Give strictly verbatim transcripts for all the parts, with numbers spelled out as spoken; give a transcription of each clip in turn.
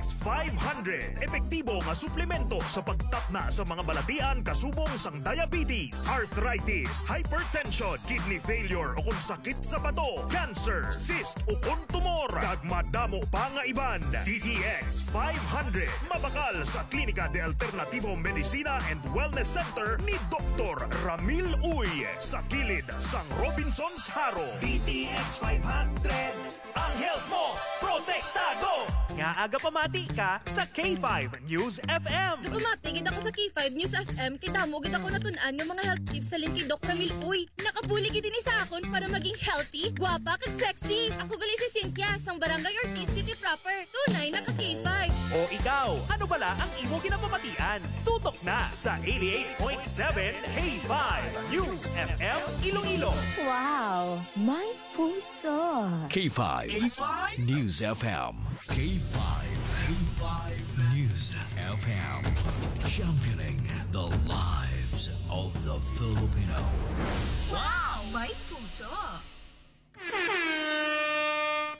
Five hundred, epektibo nga suplemento sa pagtapna sa mga balatian kasubong sang diabetes, arthritis, hypertension, kidney failure, o kung sakit sa bato, cancer, cyst, o kung tumor, kag madamo pa nga iban. D T X five hundred, mabakal sa Klinika de Alternativo Medicina and Wellness Center ni Doktor Ramil Uy, sa kilid sang Robinsons Jaro. D T X five hundred, ang health mo, protektado! Nga aga pamati ka sa K five News F M. Gapamati gid ako sa K five News F M kay damo gid ako natun-an nga mga health tips sa link kay Doc Ramil Uy. Nakabulig gid ini sa akon para maging healthy, gwapa, kag sexy. Ako gali si Cynthia, sang Barangay Ortiz City proper. Tunay na ka K five. O ikaw, ano bala ang imo ginapamatian? Tutok na sa eighty-eight point seven K five News F M Iloilo. Wow, my puso. K five K five News F M. K five K five News F M. Championing the lives of the Filipino. Wow, my puso.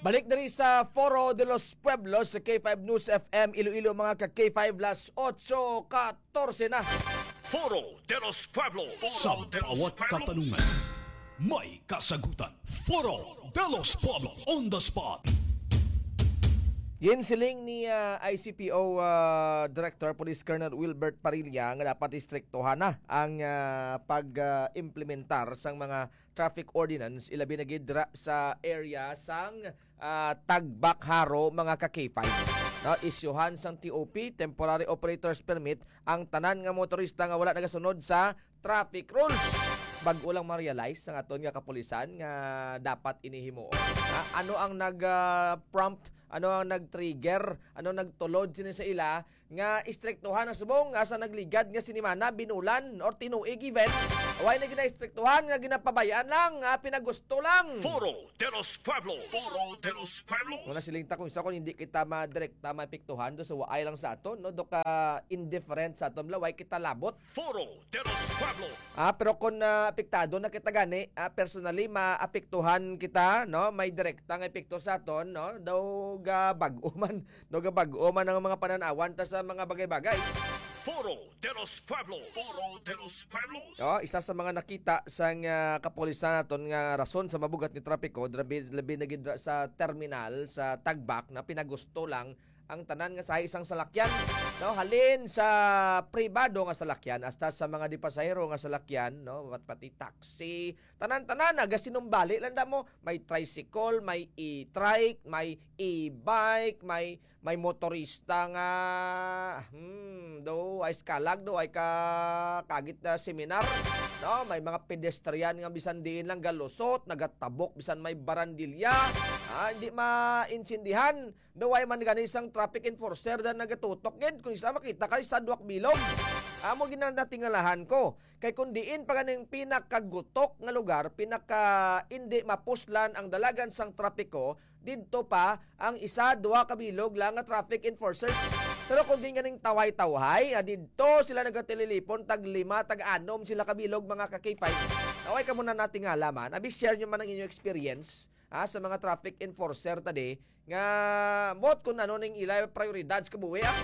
Balik diri sa Foro de los Pueblos sa K five News F M Iloilo, mga ka K five, las otso katorse na. Foro de los Pueblos. Sa bawat katanungan, may kasagutan. Foro de los Pueblos on the spot. Ginsiling ni, ah, I C P O, ah, Director Police Colonel Wilbert Parilla nga dapat istriktuhan na ang, ah, pag, ah, implementar sang mga traffic ordinance, ilabi na gid dira sa area sang, ah, Tagbak Jaro, mga ka K five. No, isyuhan sang T O P, temporary operator's permit, ang tanan nga motorista nga wala nagasunod sa traffic rules. Bag-o lang ma-realize sang aton nga kapulisan nga dapat ini himuon. Ha? Ano ang nag, ah, prompt? Ano ang nag-trigger? Ano ang nagtulod sini sa ila nga istriktuhan ang subong nga sa nagligad nga sinimana, binulan, or tinuig even? Why na ginaistriktuhan nga ginapabayaan lang, nga pinagusto lang? Foro de los Pueblos. Foro de los Pueblos. Muna siling ta kung sa kung hindi kita madirekta maepektuhan do sa waay lang sa aton, no? Do ka indifferent sa aton, wala, why kita labot? Foro de los Pueblos. Ah, pero kung, ah, apektado na kita gani, ah, personally, maapektuhan kita, no? May direkta nga epekto sa aton, no? Daw ga bag-o man, daw ga bag-o man ang mga pananawan ta sa mga bagay-bagay. Foro de los Pueblos. Foro de los Pueblos. Oh, isa sa mga nakita sang, ah, kapulisan naton nga rason sa mabugat ni trapiko, labi, labi na gid ra sa terminal sa Tagbak na pinagusto lang ang tanan nga sa isang salakyan, no? Halin sa pribado nga salakyan hasta sa mga di pasahero nga salakyan, no? Pat-, pati taxi, tanan-tanan, nagasinumbali lang da mo. May tricycle, may e-trike, may e-bike, may, may motorista nga, hmm, do ay skalag, do ay ka, kagit na seminar, no? May mga pedestrian nga bisan diin lang galusot, nagatabok bisan may barandilya, ah, hindi maintindihan. Daw way man gani sang traffic enforcer da nagatutok gid kung isa makita ka sa duwak bilog. Amo ginatingalahan ko. Kay kung diin pa ganing pinakagutok nga lugar, pinaka indi mapuslan ang dalagan sang trapiko, didto pa ang isa, duha ka bilog lang nga traffic enforcers. Pero kung diin ganing tawhay-tawhay, ah, didto sila nagatililipon, tag lima, tag anom sila ka bilog, mga ka K five. Taway ka muna natingala man. Abi, share nyo man ang inyong experience, ah, sa mga traffic enforcer tadi nga, mot kung ano ning ila prioridad sa kabuhi, ah.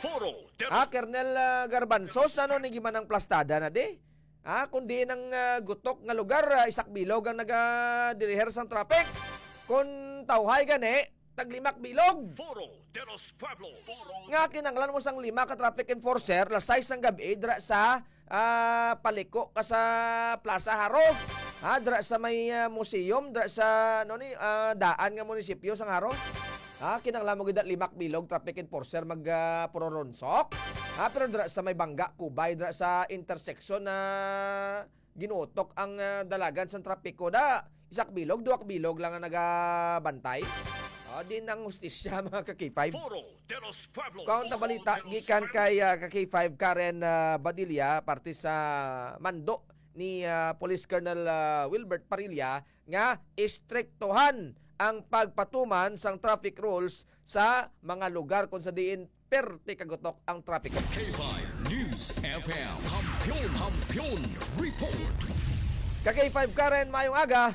Foro de Ah, Colonel, ah, Garbanzos, ano ning gimanang plastada na di? Ah, kung diin ang, ah, gutok nga lugar, ah, isak bilog ang nagadiriher sang traffic. Kung tawhay gani, taglimak bilog. Foro de los Pueblos. Nga kinahanglan mo sang lima ka traffic enforcer, las sais sang gab-i, dira sa ah, paliko ka sa Plaza Jaro. Ha, dira sa may, ah, museum, dira sa, ano ni, ah, daan nga munisipyo sang Jaro. Ha, kinahanglan mo gid limak bilog traffic enforcer mag, ah, puroronsok. Ha, pero dira sa may Bangga, Kubay, dira sa intersection na ginutok ang, ah, dalagan sang trapiko, da, isak bilog, duwak bilog lang ang nagabantay. Ah, di nang hustisya, mga ka-K five. Foro de los Pueblos. Kaon ta balita gikan kay, ah, ka K five Karen, ah, Badilla, parte sa mando ni, ah, Police Colonel, ah, Wilbert Parilla, nga istriktuhan ang pagpatuman sang traffic rules sa mga lugar kung sa diin perte kagutok ang trapiko. K five News F M. Kampiyon, Kampiyon Report. Ka K five Karen, mayong aga.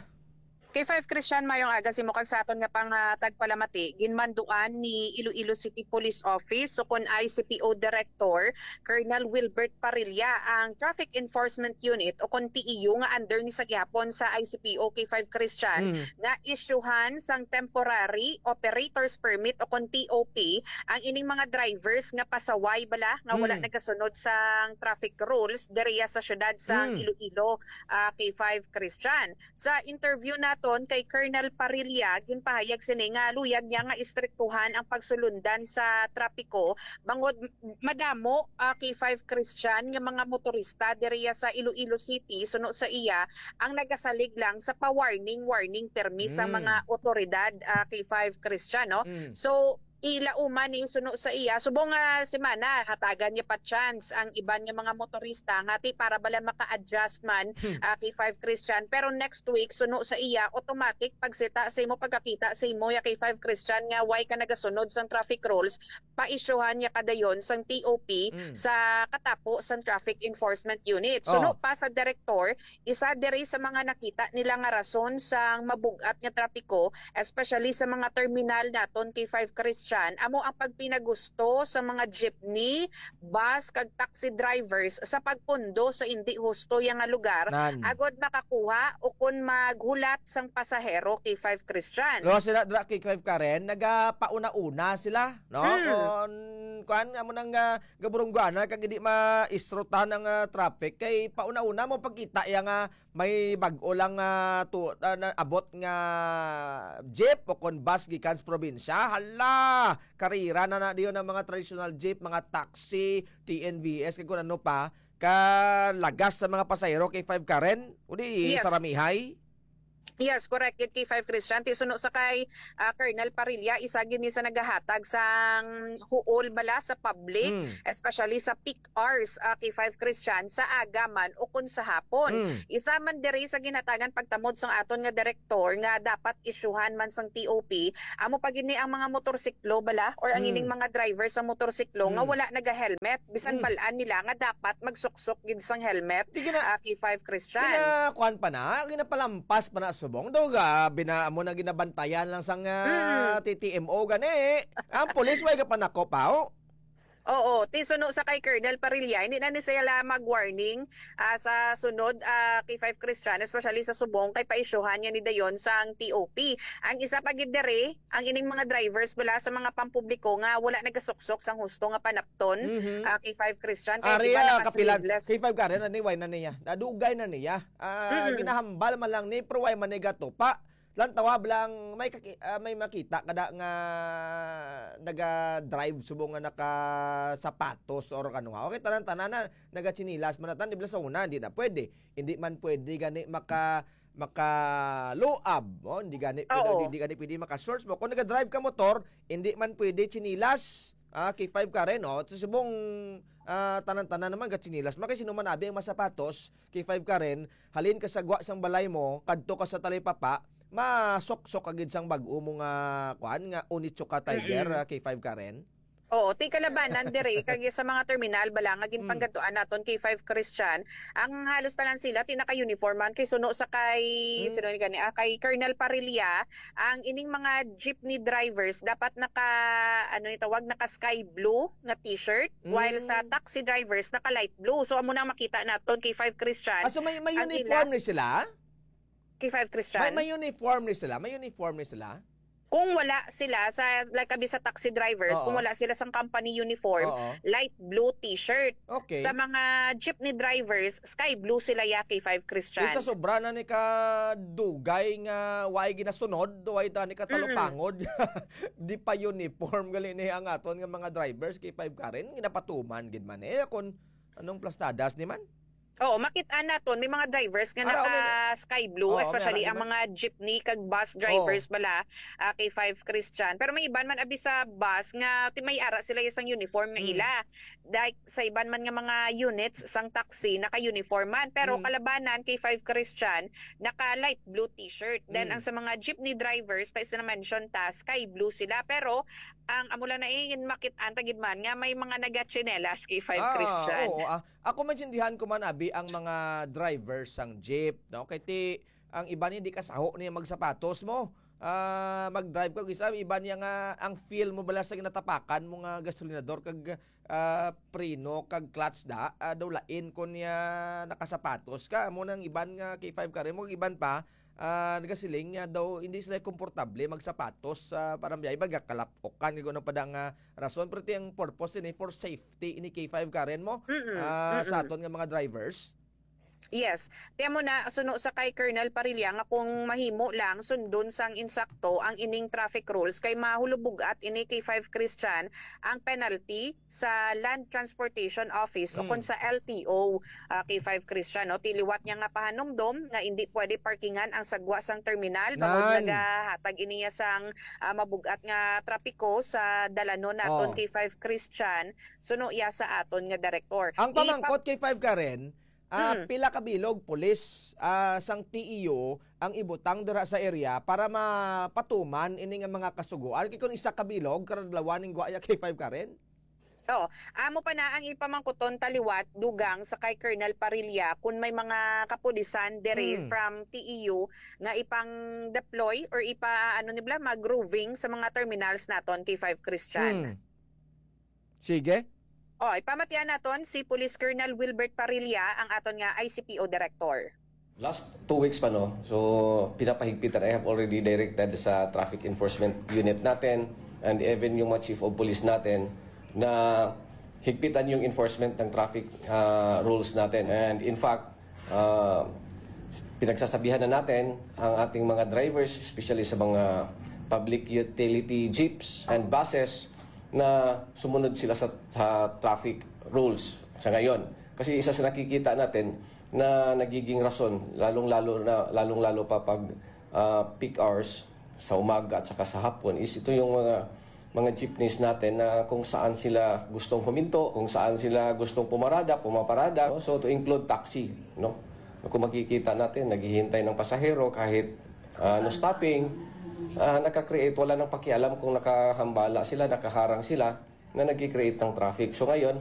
K five Christian, mayong aga sa imo kag sa aton nga panghatag palamati. Ginmanduan ni Iloilo City Police Office, so kon I C P O Director, Colonel Wilbert Parilla, ang Traffic Enforcement Unit o kon T E U nga under ni sa gihapon sa I C P O K five Christian, Mm. nga isyuhan sang Temporary Operator's Permit o kon T O P ang ining mga drivers nga pasaway bala nga wala Mm. nagasunod sang traffic rules diriya sa syudad sang Mm. Iloilo, ah, K five Christian. Sa interview naton kay Colonel Parilla, ginpahayag sini nga luyag niya nga istriktuhan ang pagsulundan sa trapiko bangod madamo, ah, K five Christian nga mga motorista diriya sa Iloilo City, suno sa iya, ang nagasalig lang sa pa-warning-warning permi sa Mm. mga otoridad, ah, K five Christian, no? Mm. So, ilauman ni suno sa iya, subong nga semana, hatagan niya pa chance ang iban nga mga motorista nga ti para bala maka-adjust man, Hmm. ah, K five Christian. Pero next week, suno sa iya, automatic pagsita sa imo, pagkakita sa imo ya K five Christian nga way ka nagasunod sang traffic rules, paisyuhan niya kadayon sang T O P Mm. sa katapo sang Traffic Enforcement Unit. Suno Oh. pa sa direktor, isa diri sa mga nakita nila nga rason sang mabug-at nga trapiko, especially sa mga terminal naton K five Christian, amo ang pagpinagusto sa mga jeepney, bus, kag taxi drivers sa pagpundo sa indi husto ya nga lugar Nan. agod makakuha o kon maghulat sang pasahero, K five Christian. Lo sila dra K five Karen, nagapauna-una sila, no? Hmm. Kon, kuan, amo nang, ah, gaburungguana kag hindi maisrutan ang, ah, traffic kay pauna-una mo pagkita iya nga may bag-o lang, ah, tu-, ah, na-, abot nga jeep o kon bus gikan sa probinsya. Hala, karira na na diyon ang mga traditional jeep, mga taxi, T N V S, kag kung ano pa, kalagas sa mga pasahero K five Karen, o di Yes. saramihay. Yes, correct. It K five Christian, ti suno sa kay, ah, Colonel Parilla, isa gid ni sa nagahatag sang huol bala sa public, Mm. especially sa peak hours, ah, K five Christian, sa aga man o kon sa hapon. Mm. Isa man diri sa ginhatagan pagtamod sang aton nga direktor nga dapat isyuhan man sang T O P, amo pa gid ni ang mga motorsiklo bala or ang Mm. ining mga driver sa motorsiklo nga Mm. wala naga-helmet, bisan Mm. bal-an nila nga dapat magsuksok gid sang helmet, Di gina-, ah, K five Christian. Gina-, kuan pa na, ginapalampas pa na subong. Daw ga, bina-, amo na ginabantayan lang sang, ah, Mm. T T M O gani. Ang pulis way gapanakop, ha, o? Oo, ti suno sa kay Colonel Parilla, hindi na ni sila mag-warning, ah, sa sunod, ah, K five Christian, especially sa subong, kay paisyuhan niya ni dayon sang T O P. Ang isa pa gid diri, ang ining mga drivers bala sa mga pampubliko nga wala nagasuksok sang husto nga panapton, Mhm. ah, K five Christian, kay Ari, iba ah, kapilan, naka-sleeveless. K five Karen, na ni, way na niya. Nadugay na niya. Ah, Mm. ginahambal man lang ni, pero way man ni gatupa. Lang tawab lang, may kaki-, ah, may makita kada nga naga-drive subong nga nakasapatos or ano ha. Okay, tanan-tanan na nagatsinilas man natan, di ba sa una, hindi na pwede. Hindi man pwede gani maka-, makaluab, no? Hindi gani pwede, Oo. hindi gani pwede maka-shorts mo. Kung naga-drive ka motor, hindi man pwede tsinilas. Ah, K five Karen, no? Sa subong, ah, tanan-tanan naman gatsinilas. Makay sino man abi ang masapatos, K five Karen, halin ka sa gwa sang balay mo, kadto ka sa talipapa, masuksok ka gid sang bag-o mo nga, kuan, nga Onitsuka Tiger, Mm-mm. ah, K five Karen. Oo, ti kalabanan diri, kag sa mga terminal bala nga Mm. ginpanggadtuan naton, K five Christian, ang halos tanan sila ti naka-uniform man kay suno sa kay, Mm. sino ni gani, ah, kay Colonel Parilla, ang ining mga jeepney drivers dapat naka, ano ni tawag, naka sky blue nga t-shirt, while sa Mm. taxi drivers naka light blue. So, amo na ang makita naton, K five Christian. Ah, so may, may Ang uniform ila ni sila? K five Christian. May, may uniform ni sila? May uniform ni sila? Kung wala sila sa, like, abi sa taxi drivers, Oo. kung wala sila sang company uniform, Oo. light blue t-shirt. Okay. Sa mga jeepney drivers, sky blue sila ya, K five Christian. Isa sobra na ni ka dugay nga way ginasunod, way ta ni ka Mm. talupangod. Di pa uniform gali ni ang aton nga mga drivers, K five Karen, ginapatuman gid man eh. Kung anong plastadas ni man? Oo, makit-an naton, may mga drivers nga Ara, naka may sky bloo, Oo, may especially ara, ang di ba? mga jeepney kag bus drivers Oo. bala, ah, K five Christian. Pero may iban man abi sa bus nga ti-, may ara sila isang uniform nga Mm. ila. Like, sa iban man nga mga units sang taxi, naka-uniform man. Pero Mm. kalabanan, K five Christian, naka light blue t-shirt. Then, Mm. ang sa mga jeepney drivers, tayo sa na-mention ta, sky blue sila. Pero, ang amo lang na eh, makit-an ta gid man nga may mga nagatsinelas, K five Ah, Christian. oo, ah. Ako maintindihan ko man abi ang mga driver sang jeep, no? Kay ti, Ang iban hindi kasaho niya magsapatos mo. Ah, mag-drive ka, isa, iban niya nga ang feel mo bala sa ginatapakan mo nga gasolinador kag, ah, preno kag clutch da, ah, daw lain kon niya nakasapatos ka. Amo nang iban nga K five Karen mo, iban pa, ah, nagasiling nga daw hindi sila komportable magsapatos sa parang biyahe, baga kalapokan, kag ano pa da nga rason. Pero ti ang purpose ini for safety ini K five Karen mo, Mm-mm, ah, sa mm-mm. aton nga mga drivers. Yes. Tiyan mo na, suno sa kay Colonel Parilla, nga kung mahimo lang sundon sang insakto ang ining traffic rules, kay mahulubugat ini K five Christian ang penalty sa Land Transportation Office o Mm. kon sa L T O, ah, K five Christian, no? Ti liwat niya nga pahanumdom nga hindi pwede parkingan ang sagwa sang terminal, bangod nga Nan. gahatag iniya sang, ah, mabugat nga trapiko sa dalanon naton Oh. K five Christian, suno iya sa aton nga direktor. Ang Ipa- pamangkot K five Karen, ah, Mm. pila ka bilog pulis, ah, sang T E U ang ibutang dira sa area para mapatuman ini nga mga kasugoan? Kay kung isa ka bilog, karadlawan ning guaya K five Karen? Oo. Amo pa na ang ipamangkuton taliwat dugang sa kay Colonel Parilla kung may mga kapulisan diri Hmm. from T E U nga ipang-deploy or ipa, ano nibla, mag-roving sa mga terminals naton, K five Christian. Hmm. Sige. Oh, ipamatian naton si Police Colonel Wilbert Parilla, ang aton nga I C P O Director. Last two weeks pa, no? So, pinapahigpitan. I have already directed sa traffic enforcement unit natin and even yung mga chief of police natin na higpitan yung enforcement ng traffic ah, rules natin. And in fact, ah, pinagsasabihan na natin ang ating mga drivers, especially sa mga public utility jeeps and buses, na sumunod sila sa, sa traffic rules sa ngayon. Kasi isa sa nakikita natin na nagiging rason, lalong-lalo na, lalong-lalo pa pag ah, peak hours sa umaga at saka sa hapon, is ito yung mga mga jeepneys natin na kung saan sila gustong huminto, kung saan sila gustong pumarada, pumaparada, no? So, to include taxi, no? Kung makikita natin, naghihintay ng pasahero kahit ah, no stopping, ah, nakakreate, wala nang pakialam kung nakahambala sila, nakaharang sila, na nagki-create ng traffic. So ngayon,